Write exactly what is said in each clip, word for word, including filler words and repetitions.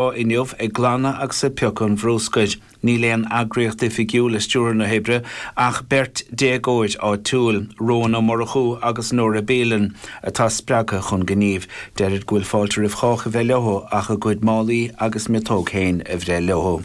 inniu ag glanadh agus ag piocadh an bhrúscair. Níl aon eagraíocht oifigiúil ag stiúradh na hoibre ach beirt déagóir áitiúil, Rowan Ó Murchú agus Nora Beelan, atá spreagtha chun gnímh. Deirid go bhfuil fáilte roimh chách a bheith leo ach a gcuid málaí agus miotóg féin a bhreith leo.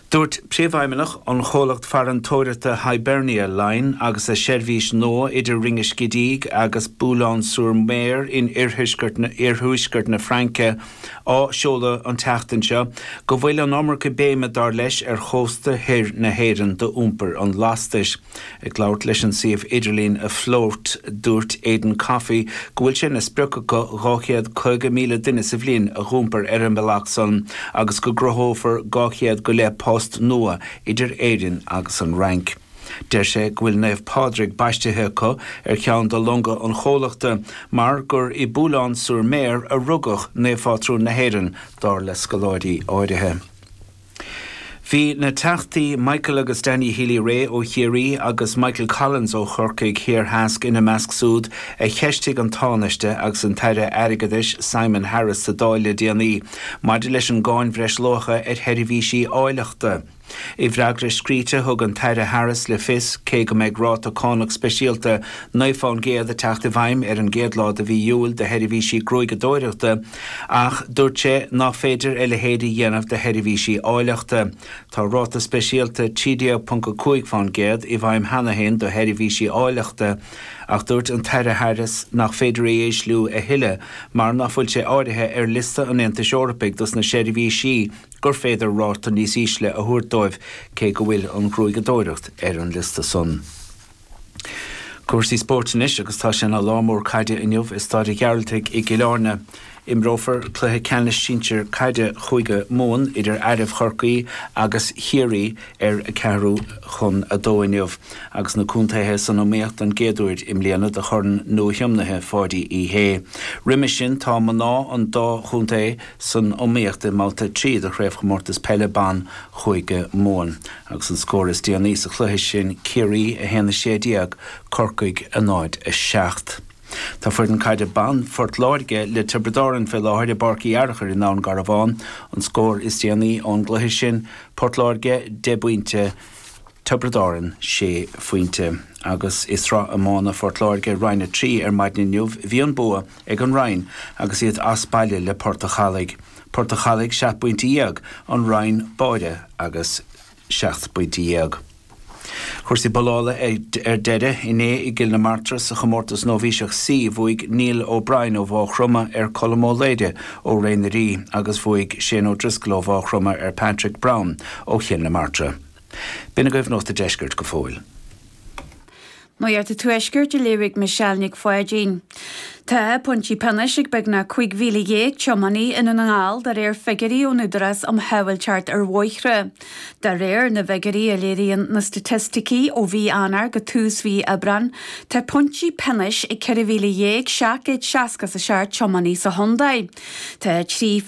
Dúirt príomhfheidhmeannach an chomhlacht farantóireachta Hibernia Line agus a seirbhís nua idir Ringaskiddy agus Boulogne-sur-Mer in iarthuaisceart na Fraince á seoladh an tseachtain seo go bhfuil an iomarca béime dar leis ar chósta thoir na hÉireann d'iompar an lastais. Ag labhairt leis an suíomh idirlín Afloat dúirt Aidan Coffey go bhfuil sé ina sprioc acu dhá chéad caoga míle duine sa bhliain a dh'iompar ar an mbealach san agus go gcruthófar dhá chéad go leith post nua idir Éirinn agus an Fhrainc. Deir sé go bhfuil Naomh Pádraig baistithe acu ar cheann de longa an chomhlachta mar gur i Boulogne-sur-Mer a rugadh naomhphátrún na hÉireann dar le scoláirí áirithe. Bhí na Teachtaí Michael agus Danny Healy-Rae ó Chiarraí agus Michael Collins ó Chorcaigh Thiar Theas ina measc siúd a cheistigh an Tánaiste agus an tAire Airgeadais Simon Harris sa Dáil le déanaí maidir leis an gcáin bhreisluacha ar sheirbhísí áilleachta. I bhfreagra scríte thug an tAire Harris le fios cé go mbeidh ráta cánach speisialta naoi faoin gcéad ag teacht i bhfeidhm ar an gcéad lá de mhí Iúil do sheirbhísí gruaigeadóireachta ach dúirt sé nach féidir a leithéid a dhéanamh do sheirbhísí áilleachta. Tá ráta speisialta trí déag ponc a cúig faoin gcéad i bhfeidhm cheana féin do sheirbhísí áilleachta ach dúirt an tAire Harris nach féidir é a ísliú a thuilleadh mar nach bhfuil sé áirithe ar liosta an Aontais Eorpaigh dos na seirbhísí gur féidir ráta níos ísle a thabhairt dóibh cé go bhfuil an ghruaigeadóireacht ar an liosta san. Cúrsaí spóirt anois agus tá sé ina lá mór caide inniu i Staid an Ghearaltaigh i gCill Airne. Imreofar cluiche ceannais sinsir caide Chúige Mumhan idir Fhearaibh Chorcaí agus Chiarraí ar a ceathrú chun a dó inniu agus na contaetha san iomaíocht don gcéad uair i mbliana do chorn nuathiomnaithe Pháidí Uí Shé. Roimhe sin tá mná an dá chontae san iomaíocht i mbabhta trí de chraobhchomórtas peile ban Chúige Mumhan agus an scór is déanaí sa chluiche sin Ciarraí a haon a sé déag, Corcaigh a náid a seacht. Tá foireann caide ban Phort Láirge le Tiobraid Árann fé láthair i bPáirc Uí Fhearchair i nDún Garbhán. An scór is déanaí ón gcluiche sin, Port Láirge deich bpointe, Tiobraid Árann sé phointe. Agus i Sraith Iomána Phort Láirge Roinn a trí ar maidin inniu bhí an bua ag an Rinn agus iad as baile le Port a' Chalaigh. Port a' Chalaigh seacht bpointe dhéag, an Rinn báire agus seacht bpointe dhéag. Cúrsaí bollála ar deireadh inné i gCill na Martra sa chomórtas Nóibhíseach C bhuaigh Neil O'Brien ó Mhaigh Chromtha ar Colm Ó Laoire ó Ré na Rí agus bhuaigh Shane O'Driscoll ó Mhaigh Chromtha ar Patrick Brown ó Chill na Martra. B'in agaibh Nuacht an Deiscirt go fóill. Nuacht an Tuaiscirt a léifidh Michelle Nic Pháidín. Tá pointí pionóis ag beagnach cúig mhíle dhéag tiománaí i nDún na nGall de réir figiúirí ón Údarás um Shábháilteacht ar Bhóithre. De réir na bhfigiúirí a léiríonn na staitisticí ó mhí Eanáir go tús mhí Aibreáin, tá pointí pionóis ag ceithre mhíle dhéag seacht gcéad seasca is a seacht tiománaí sa chontae. Tá trí